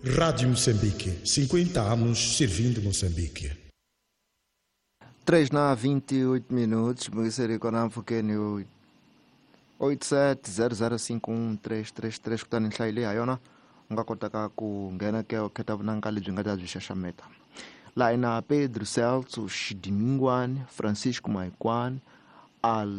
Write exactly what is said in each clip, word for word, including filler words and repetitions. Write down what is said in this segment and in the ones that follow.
Rádio Moçambique, cinquenta anos servindo Moçambique. três na vinte e oito minutos, Moisés Konamfukeni oito sete zero zero cinco um três três três kutani nhlayo leyi ha yona u nga kotaka ku nghena ke u khetha vunanga lebyi nga ta byi xaxameta. Laha hi na Pedro Celso Xidimingwani, Francisco Maikwani, Al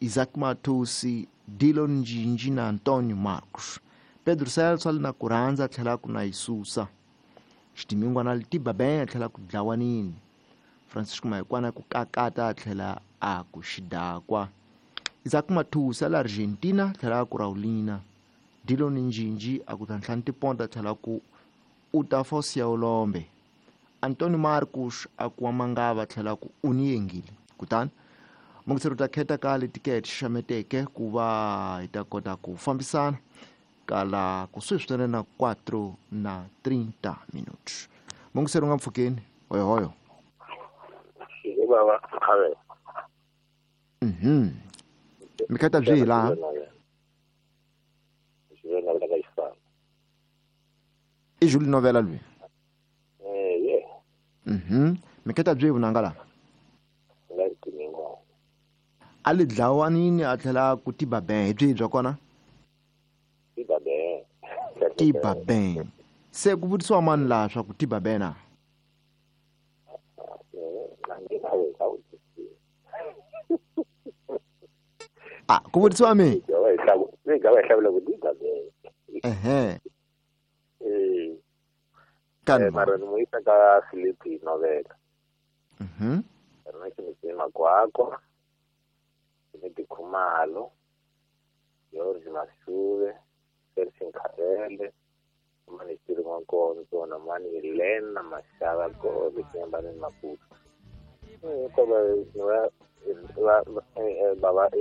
Isaac Matusi, Dillon Njinji na Antonio Marcos. Pedro Celso a li na ku rhandza a tlhela ku na yisusa. Xidimingwana a li tiba ben a tlhela ku dlawanini. Francisco Maikwani a ku kakata a tlhela a ku xidakwa. Isaac Matusi a le Argentina a tlhela a ku Raulina. Dillon Njinji a ku ntlhanu tiponta a tlhela ku u ta fa u siya ulombe. Antonio Marcos a ku wa mangava a tlhela ku u ni yengile. Kutani mungiseri u ta khetha ka letikete xaxameteke ku va hi ta kota ku fambisana kala kusuhi swinene na quatro na trinta minutos. Mungiseri u nga mpfhukeni hoyohoyo. Baba have. Mhm. Mi khetha byihi laha? I Julie Novela lui. Eh yeah. Mhm. Mi khetha byihi vunanga laha? A li dlawanini a tlhela ku tiba ben hi byihi bya kona? Tiba ben. Tiba ben. Se ku vutisiwa mani laha swa ku tiba ben na? Ah, ku vutisiwa mi? Ehe. Eh. Kan mara ni muisa ka Filipi Novela. Mhm. Rona ke ni makwakwa. Ni Khumalo, George Mashuve, Sergio Nkarele, mani Tiri Nkonzo na mani Elena Mashava Gobe Kiambani Maputo. Eh, ko ba ba ba